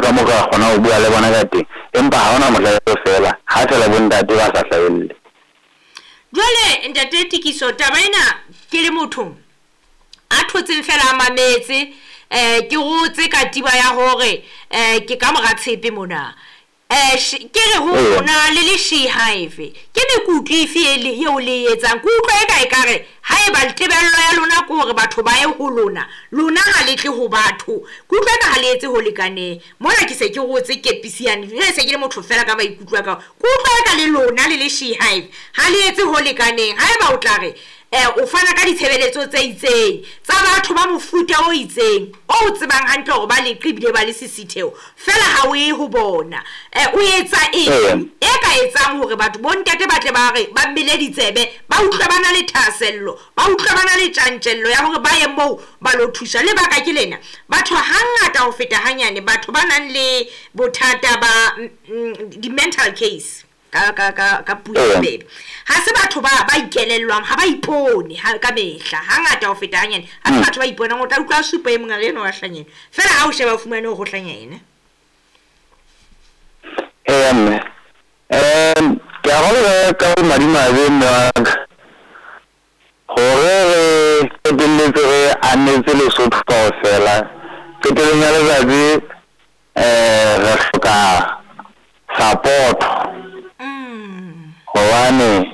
hohle ka moo re ka kgonang ho bua le bona ka teng, empa ha hona mohla e tlo fela ha fela bo ntate ba sa hlahelle. Jwale ntate Tikiso, taba ena ke le motho a thotseng fela a mametse, ke rotse katiba ya hore ke ka mora tshepe mona. Ke re ho lona le le She Hive, ke mekutu efe eo le e etsang? Ke utlwa eka ekare haeba tebello ya lona ke hore batho ba ye ho lona, lona ha le tle ho batho. Ke utlwa eka ha le etse ho lekaneng. Mona ke se ke rotse kepisi yane, jwale se ke le motho fela ka maikutlo a ka. Ke utlwa eka le lona le le She Hive ha le etse ho lekaneng. Haeba o tla re o fana ka ditshebeletso tse itseng tsa batho ba mofuta o itseng o o tsebang hantle hore ba leqe ebile ba le sisitheo, fela ha o ye ho bona. O etsa eng e ka etsang hore batho bo ntate ba tle ba re ba mele ditsebe, ba utlwe ba na le thahasello, ba utlwe ba na le tjantjello ya hore ba ye moo ba lo thusa? Lebaka ke lena, batho hangata ho feta hanyane, batho ba nang le bothata ba di-mental case ka puo e bobebe, ha se batho ba ikelellwang, ha ba ipone ha ka mehla. Hangata ho feta hanyane ha se batho ba iponang. O tla utlwa a supa e mong a re enwa wa hlanyena, fela ha o sheba o fumane hore o hlanya ena. Eya mme, ke a kgolwa ka bomadimabe mme wa ka hore re qetelletse re anetse Lesotho kaofela. Qetellong ya letsatsi re hloka support, hobane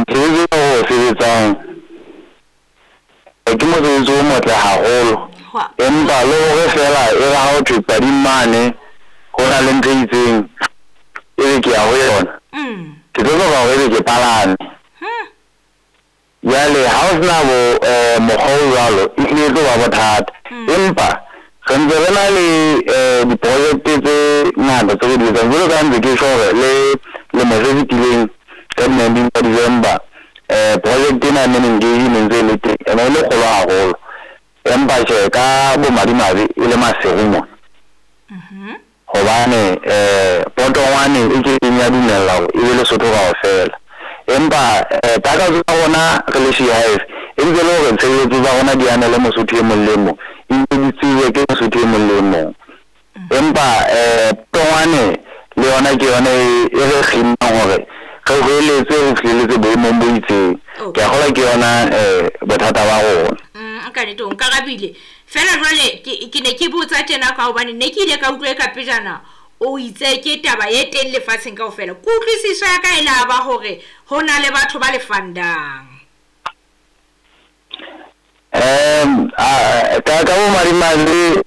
mosebetsi o re o sebetsang ke mosebetsi o motle haholo, empa le hore fela e re ha ho thwe pading mane ho na le ntho e itseng, ebe ke ya ho yona, ke tlo hloka hore ebe ke palame. Jwale ha o sena bo mokgwa o jwalo, e hlile e tlo ba bothata. Empa re ntse re na le diprojekte tse ngata tse re di etsang, jwalo ka ha ntse ke tjho hore le lemo se fetileng ka di-19 tsa December, project ena ya Men Engage e ne ntse e le teng, ene e le kgolo haholo, empa tjhe ka bomadimabe e le Maseru mona, hobane potongwane e kekeng ya dumella hore e be Lesotho kaofela. Empa takatso ya rona re le She Hive e ntse le hore tshebeletso tsa rona di anele Mosotho e mong le e mong, ebile di tsejwe ke Mosotho e mong le e mong. Empa potongwane le yona ke yona e re kginnang hore re hweletse ho fihlelletse boemong bo itseng. Ke a kgolwa ke yona bothata ba rona. Ka nnete o nkarabile. Fela jwale ke ne ke botsa tjena ka hobane ne ke ile ka utlwa e ka pejana o itse ke taba e teng lefatsheng kaofela. Kutlwisiso ya ka e la ba hore ho na le batho ba le fundang. Ka bomadimabe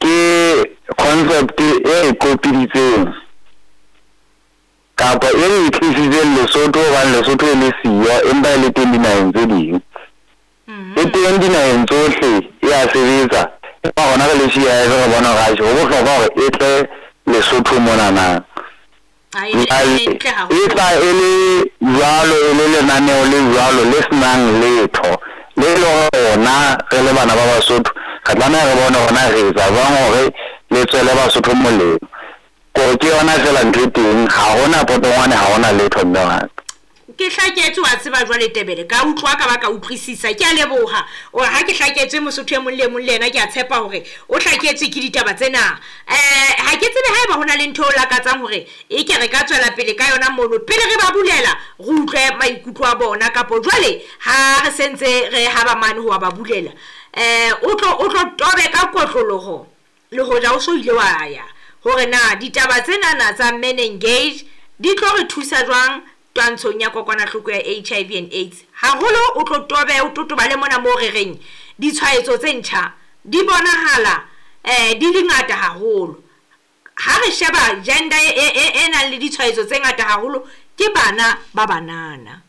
ke concept e kopiditseng kapa e re tlisitseng Lesotho, hobane Lesotho e le siyo empa e le teng dinaheng tse ding. E teng dinaheng tsohle, e a sebetsa, empa rona re le She Hive re bona hore atjhe ho bohlokwa hore e tle Lesotho monana. E tla e le jwalo, e le lenaneo le jwalo le senang letho, le le hore rona re le bana ba Basotho re tlameha re bone hore na re etsa jwang hore le tswele Basotho molemo. Kore ke yona fela ntho e teng, ha hona potongwane, ha hona letho mme wa ka. Ke hlaketswe wa tseba jwale Tebele, ka utlwa ka ba ka utlwisisa. Ke a leboha. O ha ke hlaketswe Mosotho e mong le mong le yena ke a tshepa hore o hlaketswe ke ditaba tsena. Ha ke tsebe haeba hona le ntho o lakatsang hore e ke re ka tswela pele ka yona mono pele re ba bulela, re utlwe maikutlo a bona, kapo jwale ha re sentse re haba mane ho ba bulela, o tlo tobe ka kotloloho le hoja o so ile wa ya hore na ditaba tsena tsa Men Engage di tlo re thusa jwang twantshong ya kokwanahloko ya HIV and AIDS. Haholo o tlo tobe o totobale mona moo re reng ditshwaetso tse ntjha di bonahala di le ngata haholo. Ha re sheba gender e nang le ditshwaetso tse ngata haholo ke bana ba banana.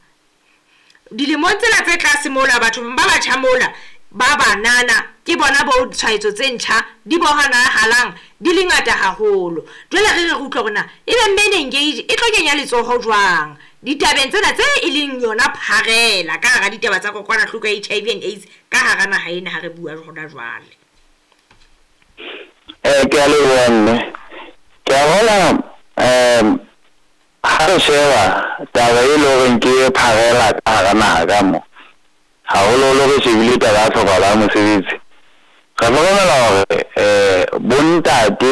Dilemong tsena tse tlase mola, batho ba batjha mola ba banana ke bona bo tshwaetso tse ntjha di bonahalang di le ngata haholo. Jwale re re utlwe hore na ebe Men Engage e tlo kenya letsoho jwang ditabeng tsena tse e leng yona pharela ka hara ditaba tsa kokwanahloko ya HIV and AIDS ka hara naha ena ha re bua hona jwale. Ke a leboha mme. Ke a bona ha re sheba taba e leng hore ke pharela ka hara naha ka mo, haholoholo re shebile taba ya tlhokahalo ya mosebetsi, re hlokomela hore bontate